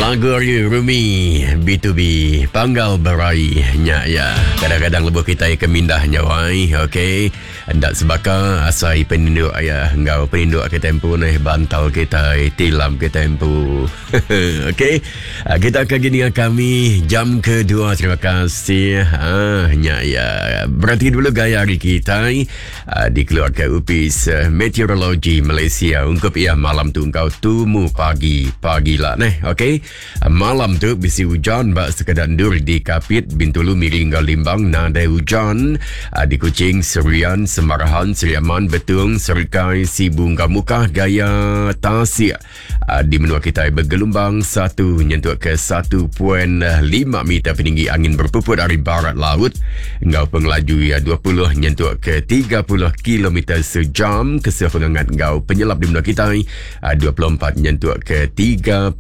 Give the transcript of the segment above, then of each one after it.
Lagu ari Rumi B2B Panggal Berai nya ya. Kadang-kadang lebuh kitai ke mindah nya wai, okey. Enda sebaka asai peninduk ya enggau peninduk kitai empu neh bantal kitai, tilam kitai empu. Okey. Ah, kita akan gini kami jam kedua. Terima kasih. Ah, nya ya. Berarti dulu gaya hari kitai. Ah, dikeluarka Opis eh, Meteorologi Malaysia ungkup ia malam tu engkau tumu pagi pagi lah neh okey ah, malam tu bisi hujan ba sekeda endur di Kapit Bintulu Miri enggau Limbang nadai hujan ah, di Kuching Serian Semarahan Sri Aman Betung Serikai Sibu enggau Mukah gaya tasik Ah, di menua kitai begelumbang satu nyentuk ke 1.5 meter peninggi angin berpuput ari barat laut enggau pengelaju iya 20 nyentuk ke 30 km sejam kesuh pengangat enggau penyelap di menua kitai 24 ah, nyentuk ke 34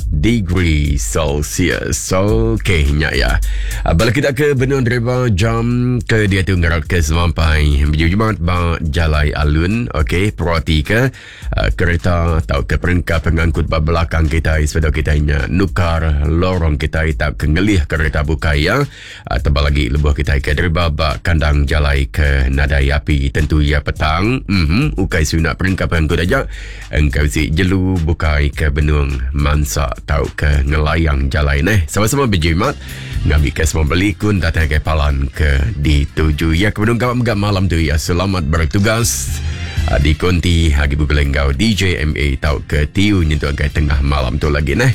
degree Celsius. Okey, nya ya. Ah, bala kita ke benung driver jam ke diatu ngerat ke semampai berjumat ba jalai alun. Okey, perhati ke Eh, kereta tauka perengka pengangkut ba belakang kitai sebedau kitai nya nukar lorong kitai tauka ngelih kereta bukai ya. Eh, tebal agi lebuh kitai ke deriba ba kandang jalai ke nadai api tentu iya petang. Mhm, ukai semina perengka pengangkut aja engka bisi jelu bukai ke benung mansa tauka ngelayang jalai neh. Sama-sama bejimat ngambika semua belikun datai ngagai palan ke dituju. Iya ke benung gawa mega malam tu iya selamat bertugas. Ah, di konti agi begulai enggau DJ MA tauka Tiu nyentuk ngagai tengah malam tu lagi neh.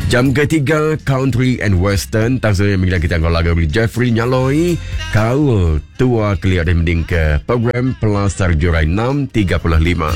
Jam ketiga Country and Western tang sebenarnya minggu kita enggau lagu dari Jeffrey Nyaloi Kaul Tua Kelia dari mending ke program Pelasar Jurai 6.35.